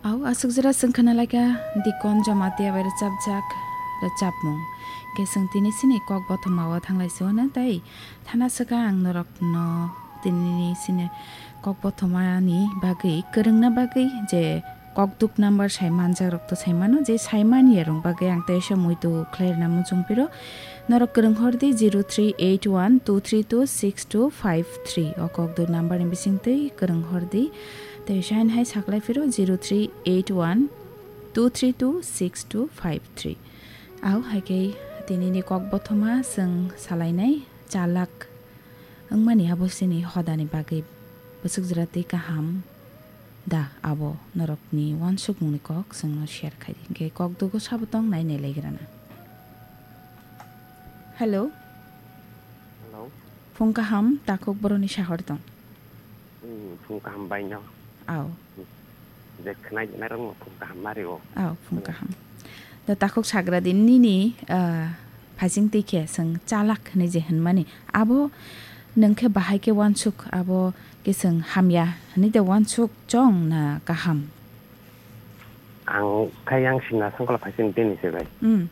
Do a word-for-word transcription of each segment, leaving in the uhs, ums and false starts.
Au, aswk jora chwng khna lai kha Dikon Jamatia bai rwchapjak rwchapmung. Khe chwng tini chini kok bothoma o thang lai si o na tei thana swkang ang norokno tini chini kok bothoma ni bagwi kwrwngna bagwi je kokduk number sai manjak rok to sai mano, je sai man ya rok bagwi ang teisa muitu khlai rwna muchung piro. Norok kwrwng hor di zero three eight one two three two six two five three. O kokduk number ni bising twi kwrwng hor di. Tei sain hai saklai phiro zero three eight one two three two six two five three. Au hai khe tini ni kok bothoma chwng salainai chalak wngmani abo chini hodani bagwi bwswk jora tei kaham da abo norokni uansukmungni kok chwngno share khai di. Hwnkhe kok dugo sabo tong nai nai lai grana. Hello. Hello. Phung kaham takhuk boroni sahor tong. Hmm, phung kaham bai no. Au. Je khnai nai rok phung kaham mari o. Au, phung kaham. Da takhuk sagra din nini, ah, phasing twi khe chwng chalak hwnwi je hwnmani. Abo nwng khe bahai khe uansuk, abo khe chwng hamya hwnwi de uansuk chong na kaham? Ang khai yang sina sangkolo phasing tini se bai. Hmm.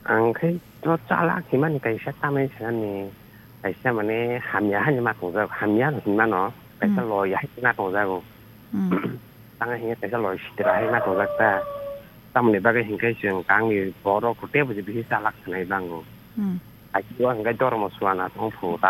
Ang khai to chalak himani kaisa tamai sanani kaisa mane hamya hani ma tongjak, hamya no hinmano kaisa Hmm. loi hai ma tongjago. Hmm. Tanga hinga kaisa loi sitra hai ma tongjak ta. Tamoni bagwi hinkai chwng kangni borok tebo je bisi chalak sanai bango. Hmm. Ajibo hingai dormo suana tong phu ta.